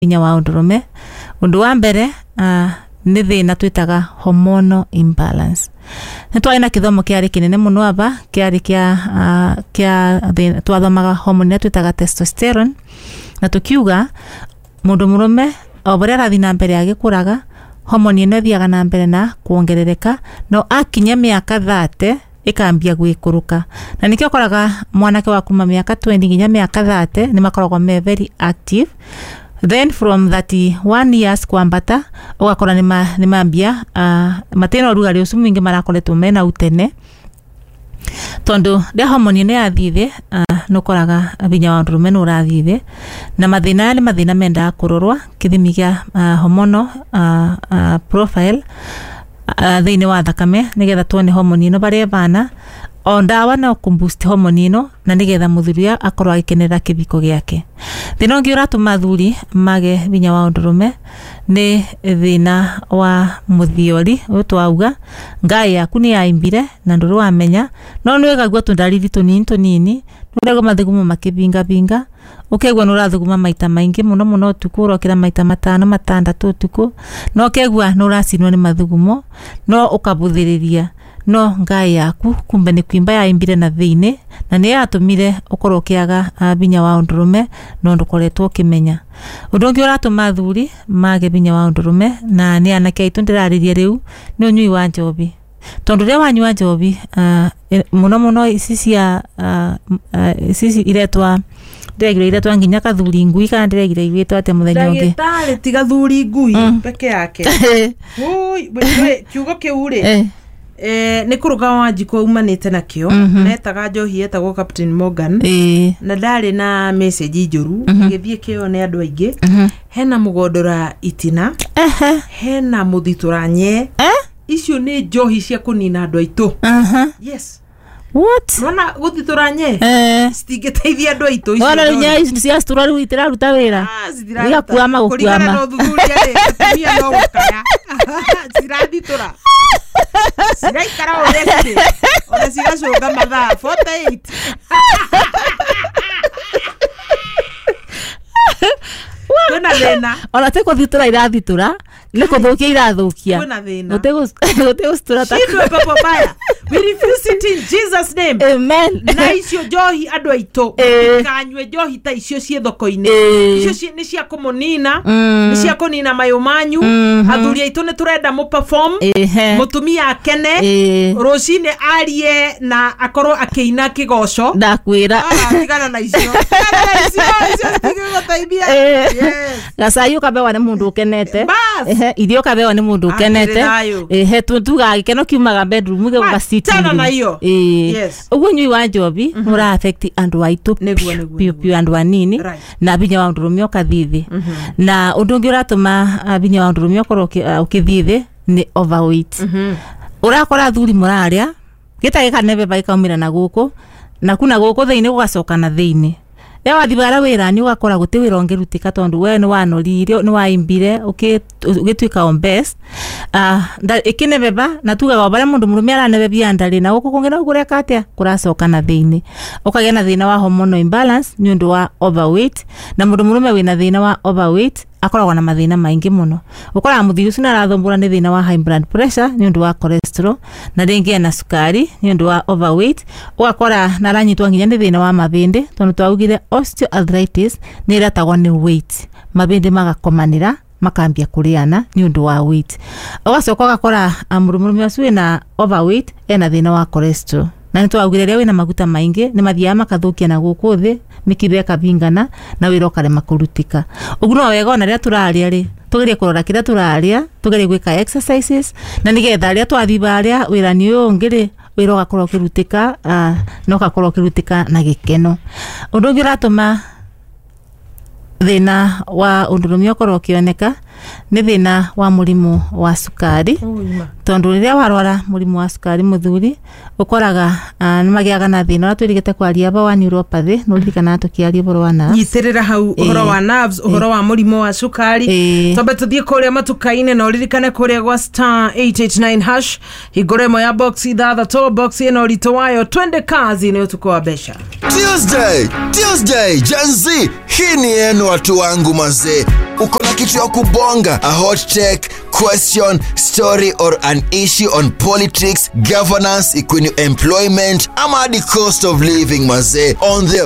Hinya wa ũndũrũme, ũndũ wa mbere nĩ thĩna twĩtaga hormonal imbalance. Nĩ twarĩ na kĩthomo kĩarĩ kĩnene mũno aba kĩarĩ kĩa thĩna, twathomaga hormone ĩrĩa twĩtaga testosterone, na tũkiuga mũndũ mũrũme o ũrĩa arathiĩ na mbere agĩkũraga, hormone ĩno ĩthiaga na mbere na kuongerereka, no akinya mĩaka 30 ĩkambia gwĩkũrũka. Na nĩkĩo ũkoraga mwanake wa kuma mĩaka 20 nginya mĩaka 30 nĩ makoragwo me very active. Then from 31 years kwambata ũgakora nĩ mambia matina ũrugarĩ ũcio mũingĩ marakoretwo mena utene, tondũ rĩa hormone ĩno yathiĩ thĩ, nĩ ũkoraga hinya wa ũndũrũme nĩ ũrathiĩ thĩ. Na mathĩna aya nĩ mathĩna mendaga kũrorwa kĩthimi kĩa hormonal profile thĩinĩ wa thakame, nĩgetha tuone hormone ĩno barĩa ĩbana. O ndawa no kũ boost hormone ĩno, na nĩgetha mũthuri akorwo agĩkenerera kĩbiko gĩake. Thĩna ũngĩ ũratũma athuri mage hinya wa ũndũrũme nĩ thĩna wa mũthiori ũyũ twauga, ngaĩ yaku nĩ yaimbire na ndũrĩ wamenya, no nĩ wĩgaigua tũndariri tũnini tũnini, nĩ ũraigua mathugumo makĩbingabinga, ũkaigua nĩ ũrathuguma maita maingĩ mũno mũno ũtukũ, ũrokĩra maita 5 6 ũtukũ, na ũkaigua nĩ ũracinwo nĩ mathugumo, no ũkabũthĩrĩria, no ngaĩ yaku kumbe nĩ kwimba yaimbire na thĩinĩ, na nĩ yatũmire ũkorwo ũkĩaga hinya wa ũndũrũme, no ndũkoretwo ũkĩmenya. Ũndũ ũngĩ ũratũma athuri mage hinya wa ũndũrũme, na nĩ anake aitũ ndĩrarĩria rĩu, nĩ ũnyui wa njobi. Tondũ rĩrĩa wanyua njobi, mũno mũno ici cia ici iretwa, ndĩregire iretwa nginya kathuri ngui, kana ndĩregire igwĩtwo atĩa mũthenya ũngĩ. Ndagĩtarĩ ti gathuri ngui peke yake. Ui, kiugo kĩu rĩ, nĩ kũrũga wa njiko umanĩte nakĩo, metaga njohi etagwo Captain Morgan, na ndarĩ na message njũru gĩthiĩ kĩo nĩ andũ aingĩ. Hena mũgondora itina, hena mũthitũra nye, icio nĩ njohi cia kũnina andũ aitũ. Yes. What? Nona gũthitũra nye citingĩteithia andũ aitũ icio. Wona rĩu nye ici cia citura rĩu itiraruta wĩra. Igakuama gũkuama. Kũringana na ũthuthuria rĩ, atumia no gũkaya cirathitũra, ciraikara ũrĩa cirĩ, ona cigacũnga mathaa 48. Kwĩna thĩna. Ona ti kũthitũra irathitũra, nĩ kũthũkia irathũkia. Kwĩna thĩna. Gũtĩ gũcitura ta Shindwe pepo baya. We refuse it in Jesus name. Amen. Na icio njohi andũ aitũ, kanyue njohi ta icio ciĩ thoko-inĩ. Icio nĩ cia kũmũnina, nĩ cia kũnina mayũ manyu. Athuri aitũ nĩ tũrenda mũ perform, mũtumia akene, rũcinĩ arie na akorwo akĩina kĩgoco. Ndakwĩra. Tigana na icio. Tigana na icio, icio citingĩgũteithia. Gacai ũkabewa nĩ mũndũ ũkenete. Irio ũkabewa nĩ mũndũ ũkenete. Tugaga gĩkeno kiumaga bedroom gĩgoka sitting room. Na iyo. Ũguo ũnyui wa njobi ũra affect andũ aitũ piũ piũ, andũ anini, na hinya wa ũndũrũme ũkathiĩ thĩ. Na ũndũ ũngĩ ũratũma hinya wa ũndũrũme ũkorwo ũkĩthiĩ thĩ nĩ overweight. Ũrakora athuri mũrarĩa gĩtarĩ kanebeba gĩkaumĩra na gũkũ, na kuna gũkũ thĩinĩ gũgacoka na thĩinĩ. Rĩrĩa wathiĩ bara wĩra-inĩ ũgakora gũtirĩ wĩra ũngĩrutĩka, tondũ we nĩ wanorire, nĩ waimbire, ũgĩtuĩka on best. Ĩkĩnebeba, na tugaga o barĩa mũndũ mũrũme aranebebia ndarĩ, na gũkũ kũngĩ no kũreka atĩa, kũracoka na thĩinĩ. Ũkagĩa na thĩna wa hormonal imbalance nĩ ũndũ wa overweight, na mũndũ mũrũme wĩna thĩna wa overweight akoragwo na mathĩna maingĩ mũno. Ũkoraga mũthuri ũcio nĩ arathumbũra nĩ thĩna wa high blood pressure nĩ ũndũ wa cholesterol, na rĩngĩ ena cukari nĩ ũndũ wa overweight. Ũgakora nĩ aranyitwo nginya nĩ thĩna wa mabĩndĩ, tondũ twaugire osteoarthritis nĩ ĩretagwo nĩ weight, mabĩndĩ magakomanĩra makambia kũrĩana nĩ ũndũ wa weight. Ũgacoka ũgakora mũndũ mũrũme ũcio wĩna overweight ena thĩna wa cholesterol, na nĩ twaugire rĩrĩa wĩna maguta maingĩ nĩ mathiaga makathũkia na gũkũ thĩ, mĩkiha ĩkabingana na wĩra ũkarema kũrutĩka. Ũguo no wega ona rĩrĩa tũrarĩa rĩ, tũgerie kũrora kĩrĩa tũrarĩa, tũgerie gwĩka exercises, na nĩgetha rĩrĩa twathiĩ barĩa wĩra-inĩ ũyũ ũngĩ rĩ, wĩra ũgakorwo ũkĩrutĩka, na ũgakorwo ũkĩrutĩka na gĩkeno. Ũndũ ũngĩ ũratũma thĩna wa ũndũrũme ũkorwo ũkĩoneka Nĩ thĩna wa mũrimũ wa cukari. Ũima. Tondu rĩrĩa warwara mũrimũ wa cukari, mũthuri, ũkoraga nĩ magĩaga na thĩna ũrĩa twĩrĩgĩte kwaria aba wa neuropathy. Nĩ ũririkanaga tũkĩaria ũhoro wa nerves? Nyitĩrĩra hau ũhoro wa nerves, ũhoro wa mũrimũ wa cukari. Twambe tũthiĩ kũrĩa matuka-inĩ, na ũririkane kũrĩa gwa *889#, hingũro ĩmwe ya box ithathatũ, box ĩno ũritũ wayo. Twende kazi, nĩ ũtukũ wa mbeca. Tuesday, Tuesday, Gen Z, hii ni yenu watu wangu mazee. Uko na kitu ya kubonga, a hot take, question, story or an issue on politics, governance, equine employment ama hadi cost of living mazee. On the